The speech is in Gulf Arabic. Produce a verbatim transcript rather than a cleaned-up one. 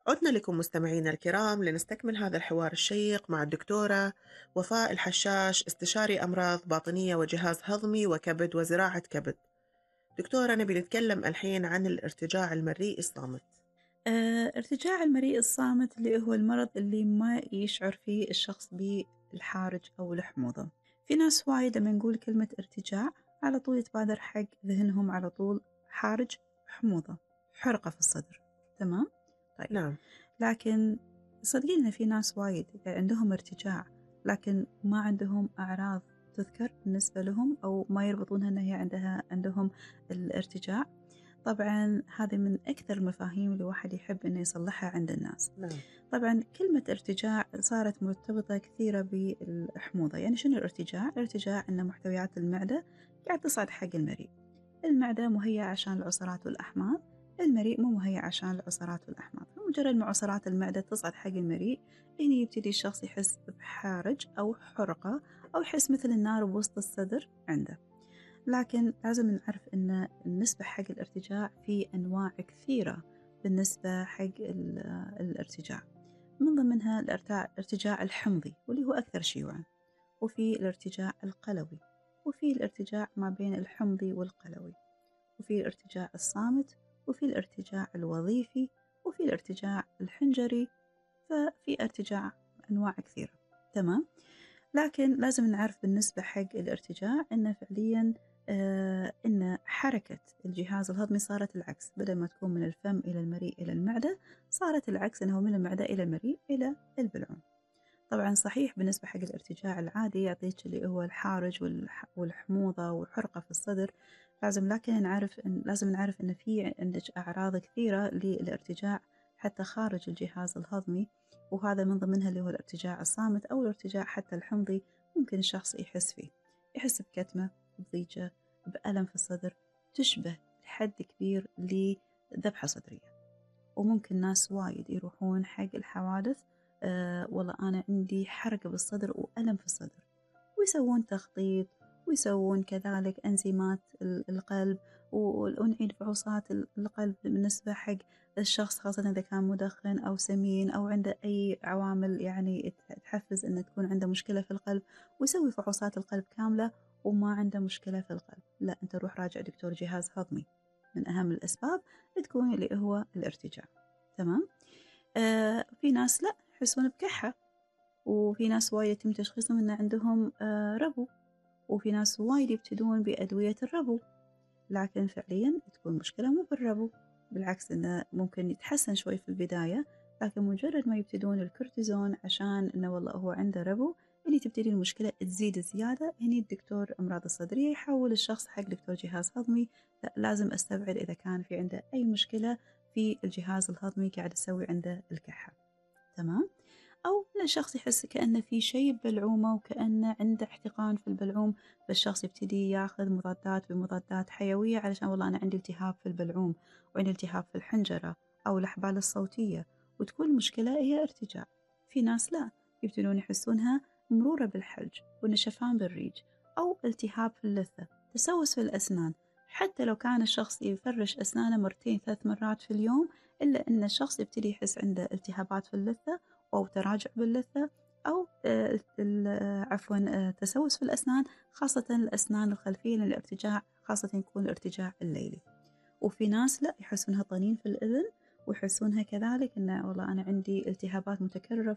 عدنا لكم مستمعينا الكرام لنستكمل هذا الحوار الشيق مع الدكتورة وفاء الحشاش، استشاري أمراض باطنية وجهاز هضمي وكبد وزراعة كبد. دكتورة، نبي نتكلم الحين عن الارتجاع المريء الصامت. آه، ارتجاع المريء الصامت اللي هو المرض اللي ما يشعر فيه الشخص بالحارج أو الحموضة. في ناس وايد لما نقول كلمة ارتجاع على طول يتبادر حق ذهنهم على طول حارج، حموضة، حرقة في الصدر. تمام؟ طيب، نعم. لكن صدقيني في ناس وايد عندهم ارتجاع لكن ما عندهم أعراض تذكر بالنسبة لهم أو ما يربطونها أنها هي عندها عندهم الارتجاع. طبعا هذه من أكثر المفاهيم اللي واحد يحب أنه يصلحها عند الناس. نعم. طبعا كلمة ارتجاع صارت مرتبطة كثيرة بالحموضة. يعني شنو الارتجاع؟ الارتجاع أن محتويات المعدة قاعد تصعد حق المريء. المعدة مهيئة عشان العصارات والأحماض، المريء مو مهيئ عشان العصارات والأحماض. مجرد ما عصارات المعدة تصعد حق المريء هنا يبتدي الشخص يحس بحارج أو حرقة أو يحس مثل النار بوسط الصدر عنده. لكن لازم نعرف أن النسبة حق الارتجاع في أنواع كثيرة. بالنسبة حق الارتجاع من ضمنها الارتجاع الحمضي واللي هو أكثر شيوعا، وفي الارتجاع القلوي، وفي الارتجاع ما بين الحمضي والقلوي، وفي الارتجاع الصامت، وفي الارتجاع الوظيفي، وفي الارتجاع الحنجري. ففي ارتجاع أنواع كثيرة. تمام؟ لكن لازم نعرف بالنسبة حق الارتجاع أنه فعليا آه إن حركة الجهاز الهضمي صارت العكس. بدل ما تكون من الفم إلى المريء إلى المعدة صارت العكس، أنه من المعدة إلى المريء إلى البلعوم. طبعا صحيح بالنسبة حق الارتجاع العادي يعطيك اللي هو الحارج والحموضة والحرقة في الصدر لازم، لكن نعرف إن لازم نعرف أن في عندك أعراض كثيرة للارتجاع حتى خارج الجهاز الهضمي، وهذا من ضمنها اللي هو الارتجاع الصامت أو الارتجاع حتى الحمضي. ممكن الشخص يحس فيه، يحس بكتمة، بضيجة، بألم في الصدر تشبه لحد كبير لذبحة صدرية. وممكن ناس وايد يروحون حق الحوادث أه والله أنا عندي حرقة بالصدر وألم في الصدر، ويسوون تخطيط ويسوون كذلك أنزيمات القلب ونعيد فحوصات القلب بالنسبة حق الشخص، خاصة إذا كان مدخن أو سمين أو عنده أي عوامل يعني تحفز أن تكون عنده مشكلة في القلب، ويسوي فحوصات القلب كاملة وما عنده مشكلة في القلب. لا، أنت روح راجع دكتور جهاز هضمي. من أهم الأسباب تكون اللي هو الارتجاع. تمام؟ آه في ناس لا يحسون بكحة، وفي ناس وايد يتم تشخيصهم أن عندهم آه ربو، وفي ناس وايد يبتدون بأدوية الربو، لكن فعليا تكون مشكلة مو بالربو، بالعكس إنه ممكن يتحسن شوي في البداية، لكن مجرد ما يبتدون الكورتيزون عشان إنه والله هو عنده ربو اللي تبتدي المشكلة تزيد زيادة. هني الدكتور أمراض الصدرية يحول الشخص حق دكتور جهاز هضمي. لا، لازم أستبعد إذا كان في عنده أي مشكلة في الجهاز الهضمي قاعد يسوي عنده الكحة. تمام؟ أو إن الشخص يحس كأنه في شيء ببلعومه وكأنه عنده احتقان في البلعوم، فالشخص يبتدي ياخذ مضادات بمضادات حيوية علشان والله أنا عندي التهاب في البلعوم وعندي التهاب في الحنجرة أو الأحبال الصوتية، وتكون المشكلة هي ارتجاع. في ناس لا، يبتدون يحسونها مرورة بالحلج ونشفان بالريج أو التهاب في اللثة، تسوس في الأسنان. حتى لو كان الشخص يفرش أسنانه مرتين ثلاث مرات في اليوم، إلا أن الشخص يبتدي يحس عنده التهابات في اللثة أو تراجع باللثة أو عفوا تسوس في الأسنان، خاصة الأسنان الخلفية، لأن الارتجاع خاصة يكون الارتجاع الليلي. وفي ناس لا يحسونها طنين في الأذن ويحسونها كذلك إنه والله أنا عندي التهابات متكررة